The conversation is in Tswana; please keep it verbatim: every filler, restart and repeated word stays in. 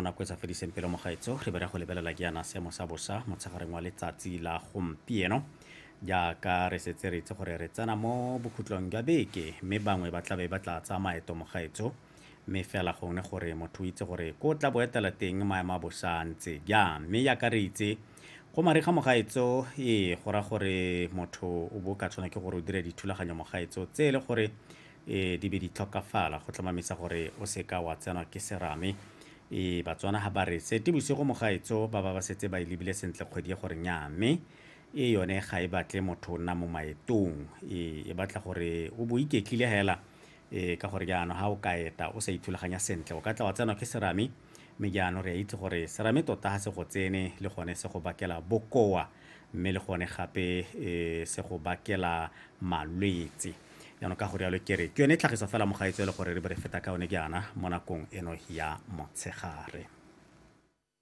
nako e sa fediseng pelo mogaetso re bere go lebelela ke yana seemo sa bosa motshegareng wa letsatsi la gompieno jaaka re setse re itse gore re tsena mo bokhutlong jwa beke mme bangwe ba tlabe ba tla tsaya maeto mogaetso mme fela gongwe gore motho o itse gore ko tla bo etela teng maemo a bosa a ntse jang mme jaaka re itse go mariga mogaetso ee go raya gore motho o bo ka tshwana ke gore o dire dithulaganyo mogaetso tse e le gore e di be di tlhokafala go tlhomamisa gore o seka wa tsenwa ke serame e batswana ga ba re sete bosigo mogaetso ba ba ba setse ba e lebile sentle kgwedi e gore nnyaa mme e yone ga e batle motho o nna mo maetong e e batla gore o bo iketlile hela e ka gore jaanong ga o ka eta o sa ithulaganya sentle o ka tla wa tsenwa ke serame mme jaanong re a itse gore serame tota ga se go tsene le gone se go bakela bokoa mme le gone gape e se go bakela malwetse jaanong ka gore jalo ke re ke yone tlhagiso fela mogaetso e le gore re be re feta ka yone jaana mo nakong eno ya motshegare.